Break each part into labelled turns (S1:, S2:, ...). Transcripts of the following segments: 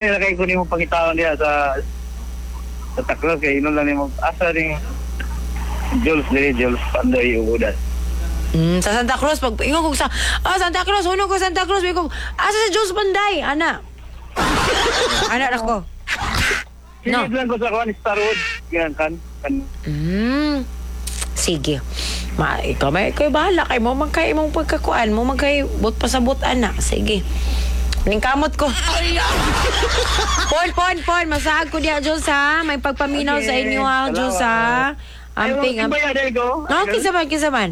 S1: Kay ko nimo pangitaon diha sa Taklos kay inon lang nimo asa ning Jules diri, Jules Panday ugudan.
S2: Sa Santa Cruz, pag ingon ko sa, Santa Cruz, hunong ko Santa Cruz, ingon ko, asa sa Jules Panday, ana. Ana ra ko. No.
S1: Silid lang ko sa kuan Starwood. Yan kan. Kan.
S2: Sige. Ma, ikaw may ikaw bahala kay mo man kay imong pagkakuan mo man kay but pasabot ana. Sige. Ning kamot ko. Pon, pon, pon, masaag ko diha Jules ha. May pagpaminaw sa
S1: Okay,
S2: inyo ha, Jules ha. Amping,
S1: Ay,
S2: amping.
S1: ba yan, ko?
S2: No, kinsa man, kinsa man.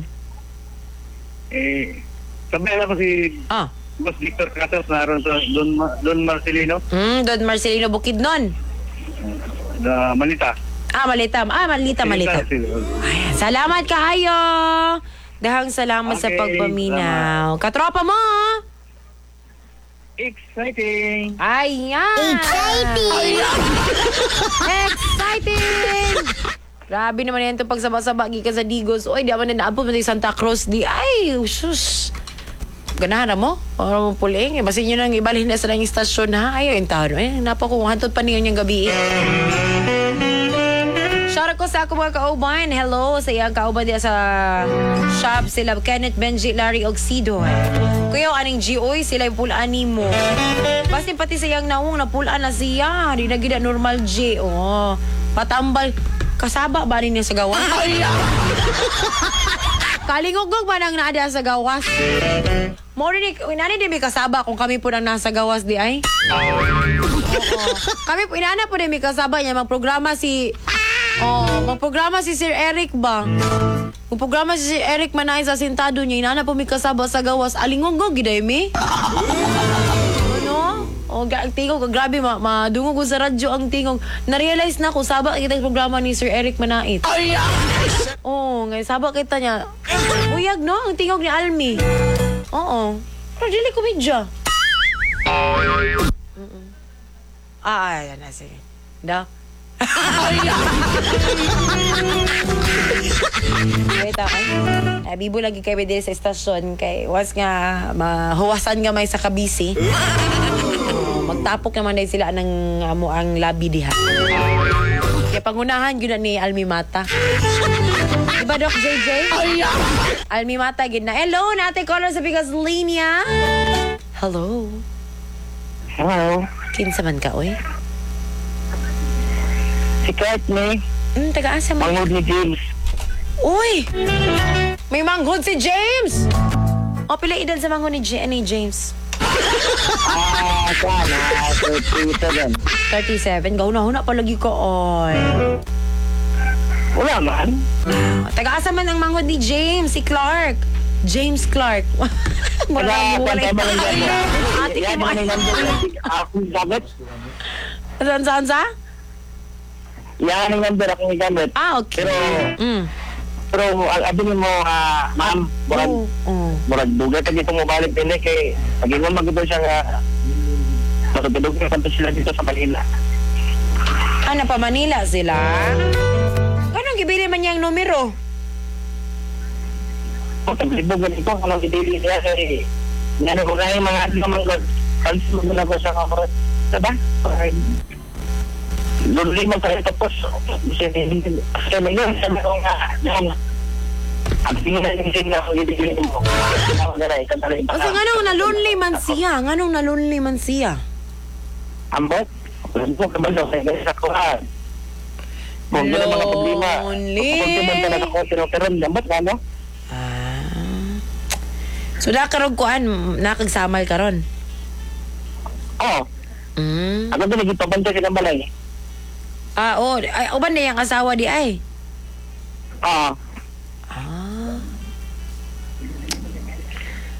S1: Eh, sabi na ko si Boss Victor Casas naroon sa Don Marcelino,
S2: Don Marcelino Bukidnon.
S1: na Manita.
S2: Ah, malita. Ah, malita, malita. Ayan, salamat kahayo. Dahang salamat sa
S1: Okay,
S2: pagpaminaw. Katropa mo. Ah.
S1: Exciting!
S2: Ayan.
S3: Exciting!
S2: Exciting! Grabe naman yan itong pagsaba-saba gikan sa Digos. Oy, di man na naabot man sa Santa Cruz. Di, ay, sus. Ganahan na mo? Para mo puling. Eh, basin nyo nang ibalhin na sa lang istasyon ha. Ay, ayun taon. Ay, napa ko. Hantod pa niyo niyang gabi. Shout out ko sa ako mga kauban. Hello sa iyang kauban diya sa shop sila Kenneth, Benji, Larry Oxido. Kuya, aning GOy sila yung pulaan nimo. Basin pati sa iyang naong napulaan na siya. Di na gid na normal G. Oh, patambal. Kasaba ba niya sa gawas? Kalingugog ba nang naada sa gawas? Mo rin inani din may kasaba kung kami po nang nasa gawas di ay. Oo. Kami po inana po din may kasaba niya magprograma si Oh, magprograma si Sir Eric ba? Magprograma si Sir Eric Manay sa sentado niya, inana po may kasaba sa gawas. Alingugog giday mi. Ano? Oh, ang tingog, grabe, madungog ko sa radyo ang tingog. Na-realize na ko, saba kita yung programa ni Sir Eric Manait. Oo, oh, ngayon, saba kita niya. Uyag, no? Ang tingog ni Almi. Oo. Pero dili komedya. Ah, ayan na, sige. Da? Wait ako. Eh, bibo lagi kay diri sa istasyon kay once nga mahuwasan nga may sa kabisi. Oh, magtapok naman dahil sila ng amo ang labi diha. Kaya pangunahan yun na ni Almi Mata. Diba, Doc JJ? Almi Mata, gid na. Hello, nate caller sa Bigas Linya. Hello.
S1: Hello.
S2: Kinsa man ka, oy?
S1: Si Kurt ni,
S2: Taga-asa man.
S1: pangod ni James.
S2: Uy! May manghod si James! O, pila edad sa manghod ni James?
S1: Ah, sana, 37.
S2: 37. Gahuna-huna palagi ko, oy.
S1: Wala man.
S2: Taga-asa man ang manghod ni James, si Clark. James Clark. Wala, wala. Ate,
S1: Yan
S2: kay
S1: ang number akong gamit.
S2: Saan, saan, saan?
S1: Yan ang number akong gamit.
S2: Ah, okay.
S1: Pero, pero ang abi mo, ma'am, murag,
S2: Oo.
S1: murag dugay ka dito mobalik din eh, kay pag-ingon magito siya nga, matutulog na kanto sila dito sa Manila.
S2: Ah, napa Manila sila? Ganong gibili man niyang numero?
S1: Kung taglibog ganito, anong gibili niya kay, ngano ko kaya mga ano man ko, kanto mo na ko sa kamara. Diba? Luli man tayo tapos, sabi ko nga, ma'am, ang tingin na yung na akong gibili mo.
S2: Kasi nganong na-lonely man siya? Nganong na-lonely man siya?
S1: Ambot? Wala ko kabalo kay sa kuha. Kung gano'n mga problema.
S2: Lonely.
S1: Kung man talaga ko, pero pero ambot nga no?
S2: Ah. So, nakarog kuan, nakagsamal karon.
S1: Oo. Ako din nagipabantay silang balay.
S2: Ah, oh, ay, uban na yung asawa di ay.
S1: Oo.
S2: Ah.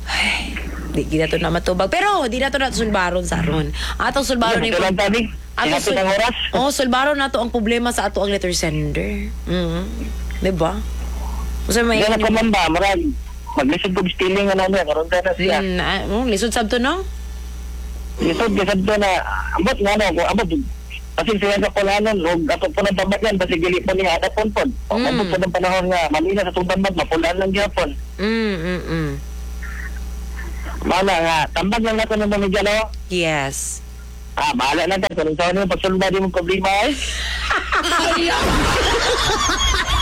S2: Ay, di gina to na matubag. Pero di na to na sulbaron sa ron. Atong sulbaron ni
S1: Ito lang tabi.
S2: Atong
S1: Tinapit ang oras.
S2: Oh, sulbaron na to ang problema sa ato ang letter sender. Di ba? Usa may
S1: Gano'n ko man ba, marag. Maglisod kong stealing ano niya, karoon na siya.
S2: Oh, lisod sab to no?
S1: Lisod, lisod ko na, ambot nga no, kung ambot. Kasi siya sa kulanon, og ato po ng tambag yan, basi gili po niya, adapon po. Ambot po ng panahon nga, Manila sa itong tambag, mapulaan lang gyapon. Mana nga, tambag lang natin ng pamilya, no?
S2: Yes.
S1: Ah, bahala na ta. Kung saan mo pagsulba di mo problema eh.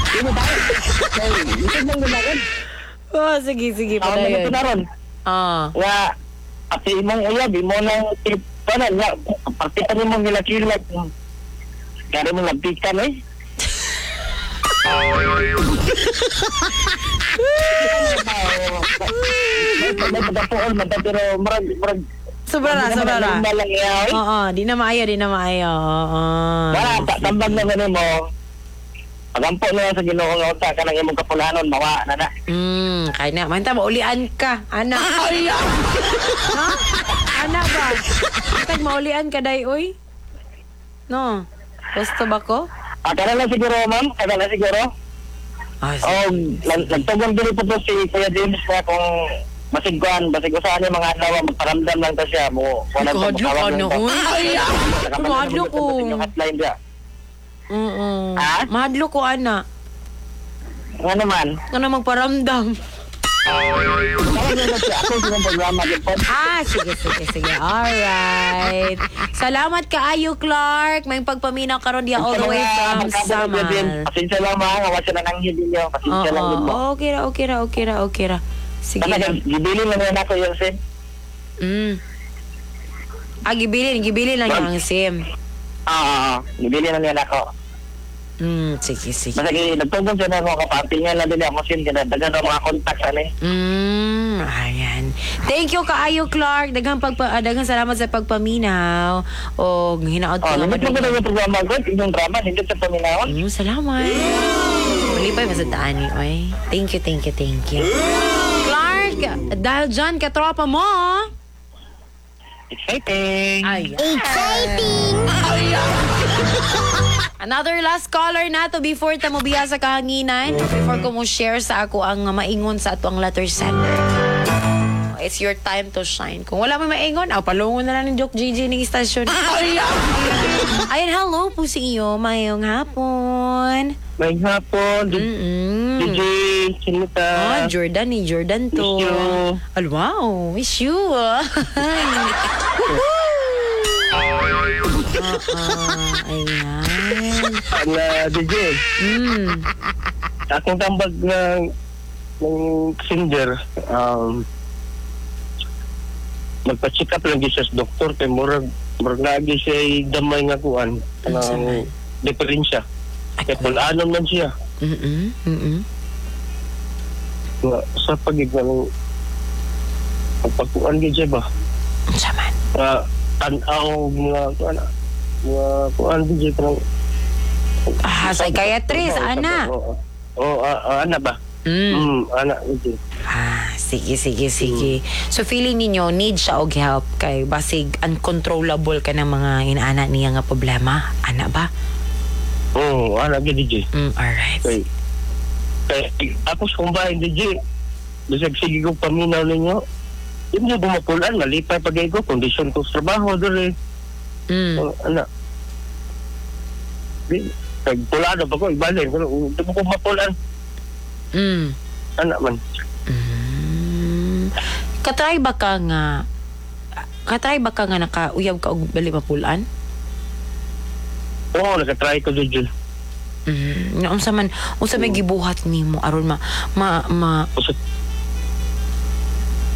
S1: Di mo ba? Hindi mo gumagan.
S2: Oh, sige, sige,
S1: Ako na
S2: padayon.
S1: ito na ron.
S2: Ah.
S1: Nga, ati imong uyab, imo nang panan nga, pagpita ni mong nilakilak. Kaya mo lagpikan eh. May pagkapuol man ta, pero murag murag
S2: Sobra ra, sobra ra.
S1: Hindi lang iya, eh.
S2: Oo, di na maayo, di na maayo. Oo.
S1: Wala, tambag naman mo. Pagampo na lang sa Ginoo nga unta ka ng imong kapulanon, mawa na na.
S2: Kaya na. Manta, maulian ka. Ana. Ha? Ana ba? Mantag, maulian ka, day, uy. No. Gusto ba ko?
S1: Ah, kana lang siguro, ma'am. Kana lang siguro.
S2: Ah, sige.
S1: Oh, nagtugon diri po to si Kuya James na kung basig kuan, basig usahan yung mga adlaw, magparamdam lang ta siya mo.
S2: Ay, kahadlok, ano, uy. Kahadlok ko.
S1: Yung hotline dia.
S2: Oo.
S1: Ha?
S2: Mahadlok ko, ana.
S1: Nga naman.
S2: Ano magparamdam?
S1: Tawag na siya. Ako sa programa din po.
S2: Ah, sige, sige, sige. Alright. Salamat kaayo, Clark. May pagpaminaw karon diya all the way from Samal.
S1: Pasensya lang mga, wa siya nananghid ninyo. Pasensya lang din
S2: Oo,
S1: mo.
S2: okay ra, okay ra, okay ra, okay ra. Sige
S1: Basta
S2: lang.
S1: gibili lang yan ako yung SIM.
S2: Ah, gibilin, gibilin lang yung SIM.
S1: Ah, gibili lang yan ako.
S2: Sige, sige.
S1: Basta nagtugon siya na ako kapampingan lang din ako SIM. Kaya daghan ang mga contacts ano eh.
S2: Ayan. Thank you kaayo, Clark. Daghang daghang salamat sa pagpaminaw. O hinaot ko
S1: Oh,
S2: nga
S1: nindot mo
S2: madugay.
S1: yung programa ko, inyong drama, nindot sa paminawon.
S2: Salamat. Malipay pa sa daan ni oy. Thank you, thank you, thank you. Clark, dahil dyan, katropa mo.
S1: Exciting!
S2: Ayan. Exciting! Another last caller na to before ta mo biya sa kahanginan. Before ko mo share sa ako ang maingon sa ato ang letter sender. It's your time to shine. Kung wala may maingon, aw, palungon na lang ng joke GG ng istasyon. Ayan, hello po sa iyo. Mayong hapon.
S1: May hapon, DJ Chinita.
S2: Oh, Jordan ni Jordan to.
S1: Miss you.
S2: Al, wow, miss you. Woohoo! Ayan.
S1: Ang DJ, akong tambag ng singer, magpa-check up lang siya sa doktor kay murag murag naagi siya damay nga kuan
S2: Unsa
S1: ng
S2: man?
S1: diferensya.
S2: Ay,
S1: Kay pulanon man siya. Nga, sa pagig ng pagkuan gyud siya ba?
S2: Unsa man?
S1: Nga tan-aw mga kuan mga kuan DJ kanang
S2: Ah, psychiatrist, ana.
S1: Oo, oh, ana ba? Ana DJ.
S2: Ah, sige, sige, sige. So feeling ninyo need siya og help kay basig uncontrollable ka ng mga inaana niya nga problema. Ana ba?
S1: Oo, ana gyud DJ.
S2: Alright.
S1: Kay ako sa kumbahin DJ, bisag sige ko paminaw ninyo. Di mo bumapulan, malipay pag ko, kondisyon ko sa trabaho dole. Oh, ana. Di, kay pulano pa ko, ibalin. Pero, di mo ko mapulan. Ana man.
S2: Katry ba ka nga nakauyab ka og bali mapulan?
S1: Oo, nakatry ko DJ.
S2: Nga unsa man unsa may gibuhat nimo aron ma ma, ma
S1: Usa,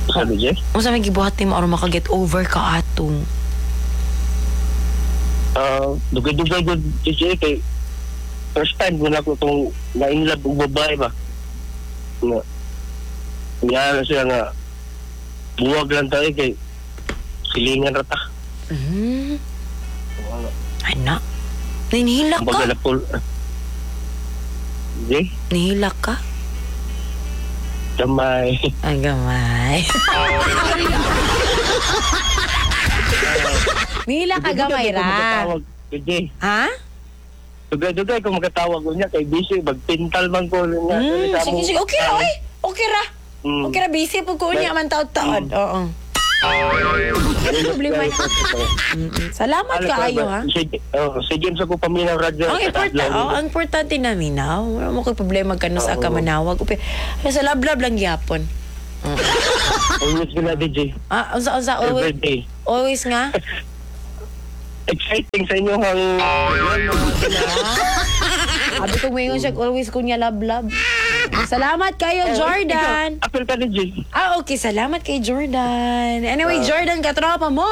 S1: usa DJ?
S2: unsa may gibuhat nimo aron maka-get over ka ato?
S1: Ah, dugay-dugay ko DJ kay first time ko na ko itong na-inlove og babae ba. Nga, nga na siya nga buwag lang tayo kay silingan ra ta.
S2: Ana. Nihilak ka?
S1: Kumbaga napul. Hindi,
S2: Nihilak ka?
S1: gamay.
S2: Ay, gamay. Nihilak ka gamay
S1: Dugay-dugay ko
S2: ra.
S1: makatawag, DJ.
S2: Ha?
S1: Dugay-dugay ko makatawag ko niya kay busy magpintal man ko niya.
S2: Sige, sige. Okay ra, oy. Okay ra. Okay ra, busy po ko niya man taon-taon. Oo. Ano problema? Salamat kaayo, ha?
S1: Sige, oh, sige sa ko paminaw radyo.
S2: Ang importante, oh, ang importante namin na, wala mo ko'y problema ka no sa kamanawag. Upi, sa lablab lang gyapon.
S1: Always ko na DJ.
S2: Ah, unsa unsa
S1: Every
S2: always
S1: day.
S2: always nga.
S1: Exciting sa inyong ang
S2: Abi ko ngayon siya, always ko niya love love. Salamat kayo, Jordan.
S1: Apil ka ni G.
S2: Ah, okay. Salamat kay Jordan. Anyway, Jordan, katropa mo.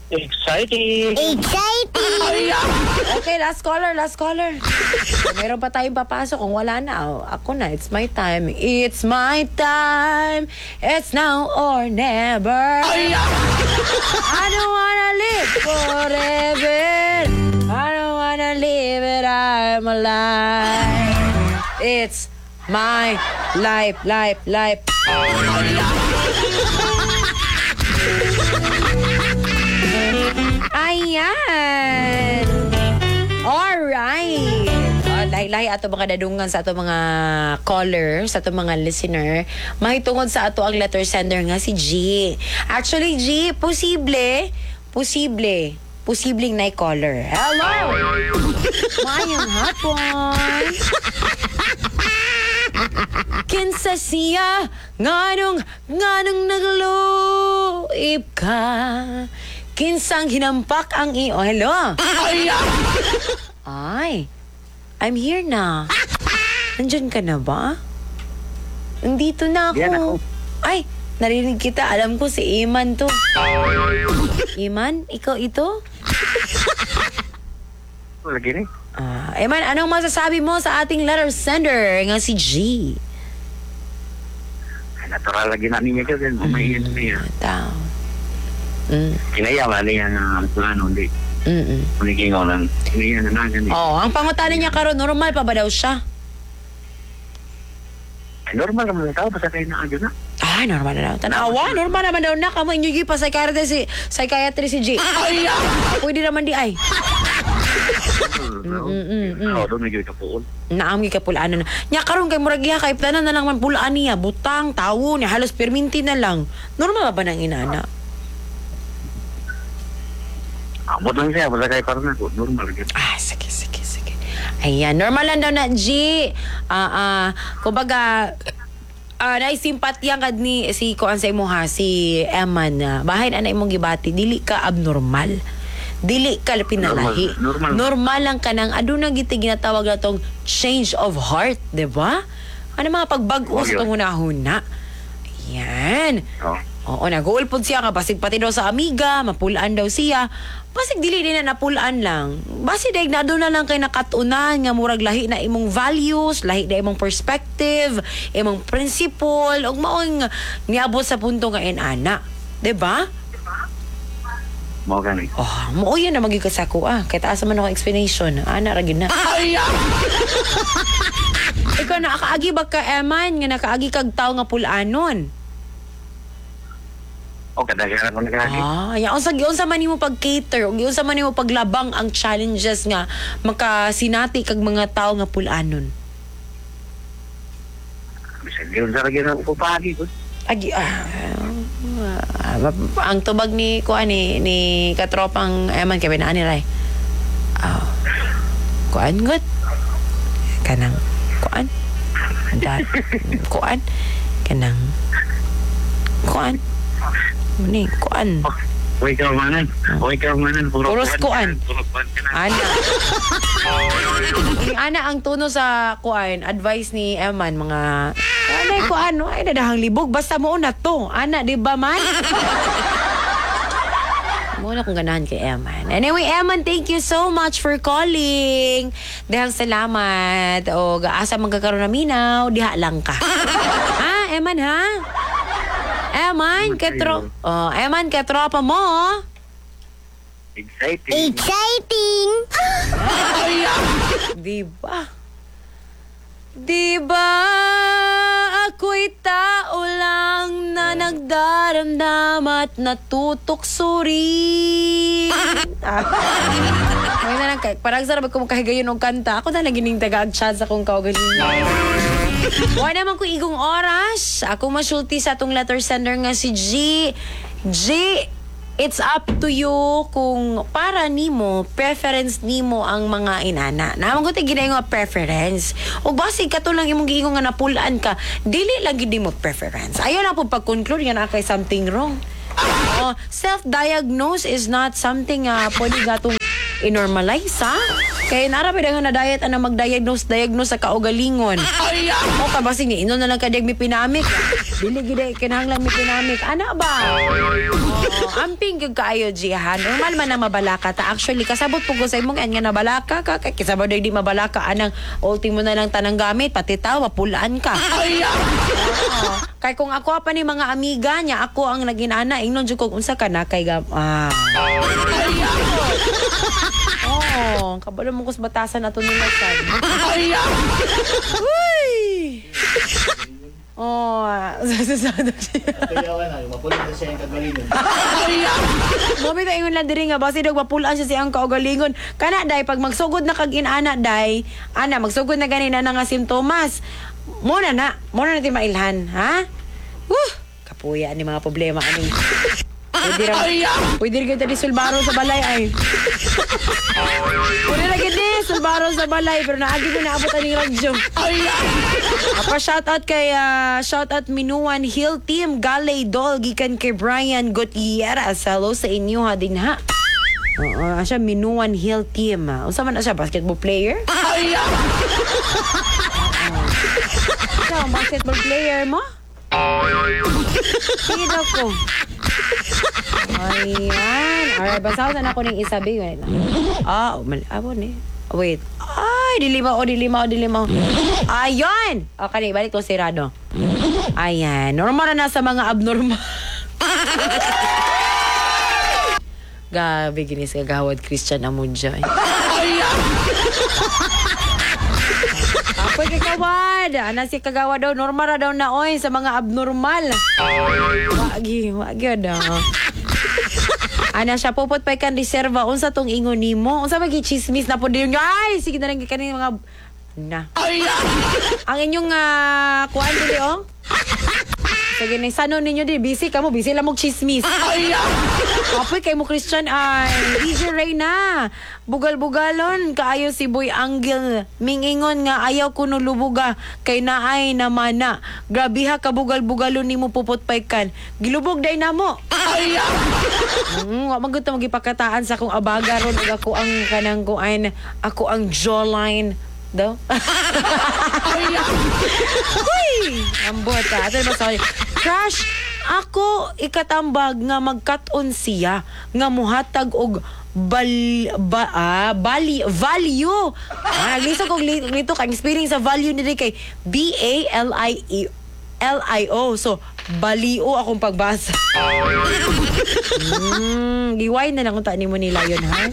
S1: Exciting.
S3: Exciting!
S2: Okay, last caller, last caller. Meron pa tayong papasok. Kung wala na, oh, ako na. It's my time. It's my time. It's now or never. I don't wanna live forever. I don't wanna live it. I'm alive. It's my life, life, life. Ayan. Alright. Oh, lahi-lahi ato mga dadungan sa ato mga caller, sa ato mga listener. Mahitungod sa ato ang letter sender nga si G. Actually, G, posible, posible, posibleng na caller. Hello! Maayong hapon! Kinsa siya, nganong, nganong nagluib ka? Kinsang hinampak ang iyo. Oh, hello? Ay, I'm here na. Nandyan ka na ba? Nandito na ako.
S1: Yan ako.
S2: Ay, narinig kita. Alam ko si Iman to. Iman, ikaw ito?
S1: Lagi ni.
S2: Ah, Iman, anong masasabi mo sa ating letter sender nga si G?
S1: Natural lagi na niya kasi umayin niya.
S2: Tao.
S1: Kinaya wala niya nga ang plano hindi. Uliging lang. Kinaya na na gani.
S2: Oh, ang pangutana niya karon, normal pa ba daw siya?
S1: Ay, normal naman ang tao basta kayo na adyo na.
S2: Ah, normal na daw. Tanawa, normal naman daw na. Kamo inyo pa psychiatrist si G. Pwede naman di ay.
S1: Oo, doon nagyoy kapuol.
S2: Naam gi kapulaan na. Nya karon kay murag iya kay tanan na lang man pulaan niya, butang, tawo niya, halos perminti na lang. Normal ba nang inana?
S1: Amot lang siya basta kay parang ako normal gyud.
S2: Ah, sige, sige, sige. Ayan, normal lang daw na, G. Ah, ah, kumbaga, naisimpatya kad ni si kuan sa imo ha, si Eman na bahin ana imong gibati, dili ka abnormal. Dili ka pinalahi.
S1: Normal, normal.
S2: Normal lang ka nang aduna giti ginatawag na tong change of heart, di ba? Ano mga pagbag-o sa
S1: Oh, yun.
S2: tong hunahuna. Ayan.
S1: Oh.
S2: Oo, nag-uulpod siya nga basig pati daw sa amiga, mapulaan daw siya. Basig dili din na napulaan lang. Basig daig na doon na lang kay nakatunan nga murag lahi na imong values, lahi na imong perspective, imong principle, ug maong niabot sa punto nga inana. 'Di ba?
S1: Mao gani.
S2: Oh, mo yun na magiging kasako ah. Kaya taas man ako explanation. Ana ra gyud na. Ikaw nakaagi ba ka Eman nga nakaagi kag tawo nga pulanon?
S1: O kadaghan ako nagagi.
S2: Ah, ya unsa giunsa man nimo pag-cater ug giunsa man nimo paglabang ang challenges nga makasinati kag mga tawo nga pulanon.
S1: Bisag yun sa lagi na ako pagi ko.
S2: Agi ang tubag ni kuan ni katropang Eman kay ani ray. Ah. Kuan gud. Kanang kuan. Da, kuan kanang kuan. Ni kuan.
S1: Uy ka manan. Uy ka manan. Puro
S2: Puros kuan.
S1: Puro kuan ka na.
S2: Ana. Yung ana ang tono sa kuan, advice ni Eman mga anay kuan, ay dadahang libog basta mo na to. Ana, di ba man? Mo na kung ganahan kay Eman. Anyway, Eman, thank you so much for calling. Dahang salamat. O asa man ka karon na minaw, diha lang ka. Ha, Eman ha? Eman, katro. Oh, Eman, katropa mo.
S1: Exciting.
S3: Exciting!
S2: Di ba? Di ba ako'y tao lang na nagdaramdam at natutukso rin? Ah. May na lang, parang sarap ko makahigayon og kanta. Ako na lang gining tagaag chance akong kaugalingon. Wala naman ko igong oras. Ako masulti sa atong letter sender nga si G. G, it's up to you kung para nimo, preference nimo ang mga inana. Naman ko tayo nga preference. O basig kato lang imong giingon nga napulaan ka, dili lang gid nimo preference. Ayaw na po pag-conclude nga na kay something wrong. Oh, self-diagnose is not something pwede gatong i-normalize, ha? Kaya nara pa nga na diet ana mag-diagnose diagnose sa kaugalingon. O ka basig ni inon na lang ka mefenamic. Dili gid ay kinahanglan mefenamic. Ana ba? Oo, amping gyud kaayo, Jihan. Normal man na mabalaka ta. Actually, kasabot po ko sa imong nga nabalaka ka. Kay kasabot di mabalaka anang ultimo na lang tanang gamit pati tawa pulaan ka. Oo. Kay kung ako pa ni mga amiga niya, ako ang naginana, ingnon jud kog unsa ka na kay gam ah. Oh, kabalo mo kus batasan ato nila sad. Uy! Oh, sasasado siya.
S4: Kaya na, mapulit na siya yung kagalingon.
S2: Mami ta ingon lang diri nga basi dog mapulaan siya siyang kaugalingon. Kana day pag magsugod na kag inana day, ana magsugod na gani na nga simptomas. Mo na na, mo na natin mailhan, ha? Woo! Kapuya ni mga problema ani. Pwede ra. Pwede ra gyud di sulbaro sa balay ay. Pwede ra gyud di sulbaro sa balay pero naagi ko naabot aning radyo. Apa shout out kay shout out Minuan Hill Team Galay Dol gikan kay Brian Gutierrez. Hello sa inyo ha din ha. Oo, siya Minuan Hill Team. Unsa man na siya, basketball player? Siya, ang basketball player mo? Sige daw ko. Ayan. Alright, basaw na ako ng isa, babe. Wait lang. Ah, oh, mali. Ah, ni. Wait. Ay, dilima, oh, dilima, oh, dilima. Ayun! Okay, balik ko sirado. Ayan. Normal na sa mga abnormal. Gabi, ginis kagawad Christian Amudja. Apoy kay kawad. Ana si kagawa daw, normal ra daw na oy sa mga abnormal. Wagi, wagi daw. Ana siya pupot pa kan reserva unsa tong ingon nimo? Unsa man chismis na pud yun? Ay, sige na lang kani mga na. Ang inyong kuan dili oh. Sige na sano ninyo di busy kamo, busy lang mo chismis. Apoy kay mo Christian ay DJ Reyna. Bugal-bugalon kaayo si Boy Angel. Mingingon nga ayaw kuno lubuga kay naay namana. Grabe ha kabugal-bugalon nimo pupot kan. Gilubog day namo. Wa man gud ta magipakataan sa akong abaga ron ug ako ang kanang kuan, ako ang jawline daw. Uy! Ambot ha. Ato ba sorry. Crush, ako ikatambag nga magkat-on siya nga muhatag og bal, ba, ah, bali, value. Ah, lisod kog nito kay spelling sa value ni kay B A L I E L I O. So, balio akong pagbasa. Giway na lang kung nimo nila yun, ha?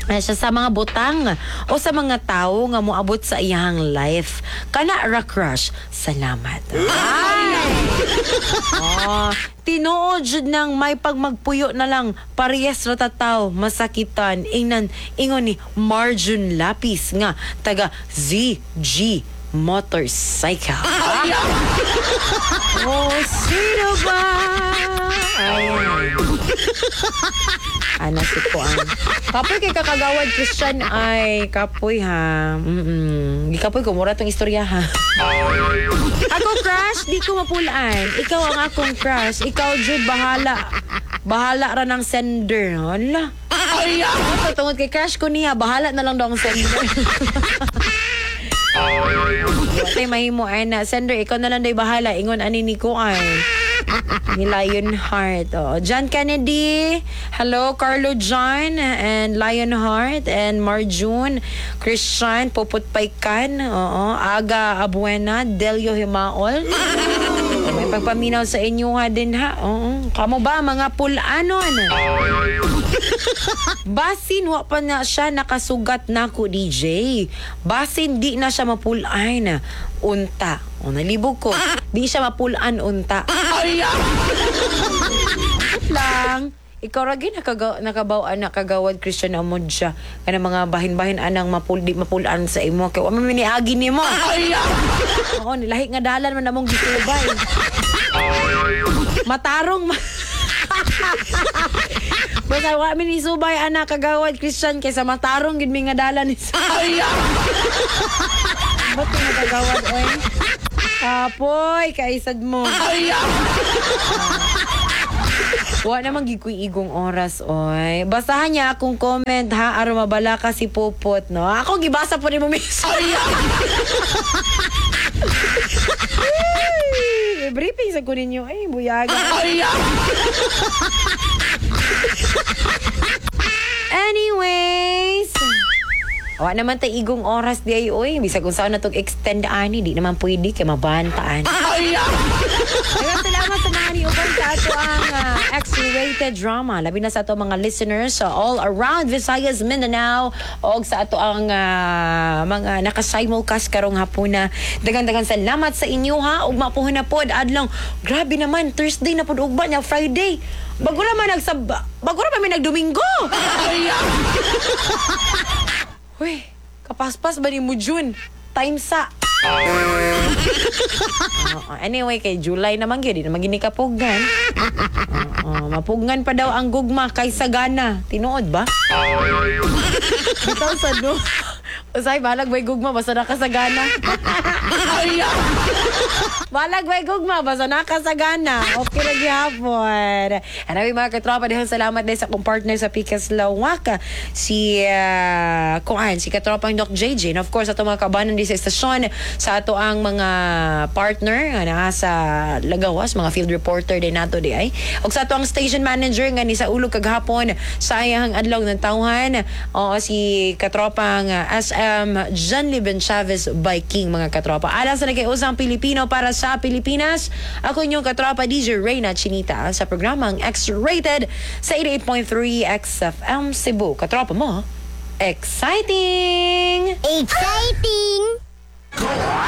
S2: Siya sa mga butang o sa mga tao nga moabot sa iyang life. Kana ra crush. Salamat. Ay! Oh, tinuod jud nang may pagmagpuyo na lang parehas ra tataw masakitan ingnan ingon ni Marjun Lapis nga taga ZG Motorcycle. Oh, sino ba? Ayan. Ana si Kuan. Kapoy kay kakagawad Christian ay kapoy ha. Di kapoy kumura tong istorya ha. Ako crush, di ko mapulaan. Ikaw ang akong crush. Ikaw jud bahala. Bahala ra ng sender. Hala. Ay, tungod kay crush ko niya, bahala na lang daw ang sender. Tay mahimo ay na sender, ikaw na lang day bahala. Ingon ani ni Kuan. Ni Lionheart. Oh. John Kennedy. Hello, Carlo John and Lionheart and Marjun. Christian Popot Paikan. Oo. Aga Abuena. Delio Himaol. May pagpaminaw sa inyo ha din ha. Oo. Kamo ba mga pulanon? Basin wa pa na siya nakasugat na ko DJ. Basin di na siya mapulaan unta. O nalibog ko. Di siya mapulaan unta. Lang. Ikaw ra gyud nakabaw nakagawad Christian Amod siya. Kana mga bahin-bahin anang mapul di mapulaan sa imo kay wa man niagi nimo. Oo, nilahi nga dalan man among gisubay. Matarong Basta wa mi ni subay ana kagawad Christian kaysa matarong gid mi nga dalan ni Ba't ka nagagawad oy? Kapoy, kaisad mo. Wa naman gid ko'y igong oras, oy. Basahan niya akong comment, ha? Aron mabala ka si Pupot, no? Ako, gibasa po ni mo mismo. Ay, briefing sa ko ninyo. Ay, buyaga. Anyways, wa naman tay igong oras di ay oy. Bisag kung saan na tong extend ani, di naman pwede kay mabantaan. Daghang salamat sa mga niuban sa ato ang X-rated drama. Labi na sa ato mga listeners sa all around Visayas, Mindanao, og sa ato ang mga naka-simulcast karong hapuna. Daghang-daghang salamat sa inyo ha. Ug mapuhon na pod adlong. Grabe naman, Thursday na pod ugma nya, Friday. Bago ra man bago ra man mi nagdomingo. Uy, kapaspas ba ni mo June? Time sa. Oo. Anyway, kay July naman gyud, di naman gini kapugnan. Oo, mapugnan pa daw ang gugma kay Sagana. Tinuod ba? Bitaw sa no. Usay, balag may gugma, basta nakasagana. Balag may gugma, basta nakasagana. Okay na gihapon. Anyway, mga katropa, dahil salamat din sa akong partner sa Pikas Lawaka, si kuan, si katropang Doc JJ. And of course, ato mga kabanan di sa istasyon, sa ato ang mga partner nga naa sa Lagawas, mga field reporter din nato di ay. Og sa ato ang station manager nga ni sa ulog kagahapon sa iyang adlaw ng tawhan. Oo, si katropang SM John Liben Chavez by King, mga katropa. Alang sa nagkaiusang Pilipino para sa Pilipinas, ako inyong katropa DJ Reyna Chinita sa programang X-Rated sa 88.3 XFM Cebu. Katropa mo, exciting!
S3: Exciting!